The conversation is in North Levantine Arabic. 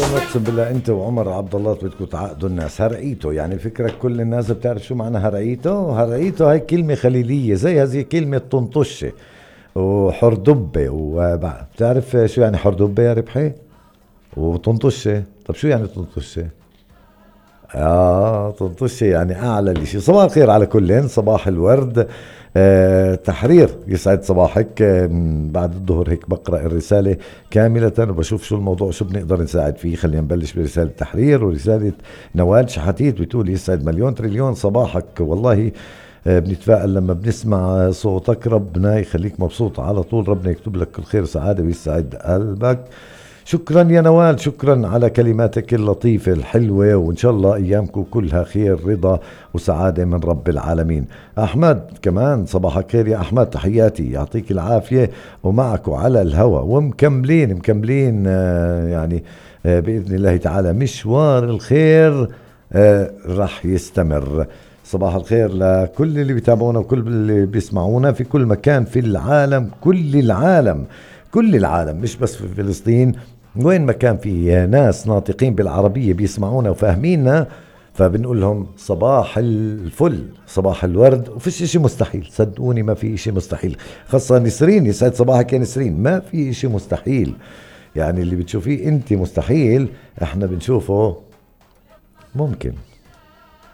اقسم بالله انت وعمر عبد الله بدكم تعقدوا الناس. هرقيته يعني فكرك كل الناس بتعرف شو معنى هرقيته؟ هرقيته هاي كلمة خليلية زي هذه كلمة طنطشة وحردبة. وبتعرف شو يعني حردبة يا ربحي؟ وطنطشة. طب شو يعني طنطشة؟ طنطشة يعني أعلى الإشي. صباح الخير على كلين، صباح الورد. تحرير يسعد صباحك. بعد الظهر هيك بقرأ الرسالة كاملة وبشوف شو الموضوع، شو بنقدر نساعد فيه. خلينا نبلش برسالة تحرير. ورسالة نوال شحاتيت بتقول يسعد مليون تريليون صباحك. والله بنتفائل لما بنسمع صوتك، ربنا يخليك مبسوط على طول، ربنا يكتب لك الخير وسعادة ويسعد قلبك. شكرا يا نوال، شكرا على كلماتك اللطيفة الحلوة، وإن شاء الله أيامكم كلها خير رضا وسعادة من رب العالمين. أحمد كمان صباحك خير يا أحمد، تحياتي يعطيك العافية. ومعكم على الهوى ومكملين يعني بإذن الله تعالى مشوار الخير رح يستمر. صباح الخير لكل اللي بيتابعونا وكل اللي بيسمعونا في كل مكان في العالم، كل العالم مش بس في فلسطين، وين ما كان في ناس ناطقين بالعربية بيسمعونا وفاهميننا، فبنقول لهم صباح الفل، صباح الورد. وفيش اشي مستحيل، صدقوني ما في اشي مستحيل. خاصة نسرين، يسعد صباحك يا نسرين. ما في اشي مستحيل، يعني اللي بتشوفيه انت مستحيل احنا بنشوفه ممكن.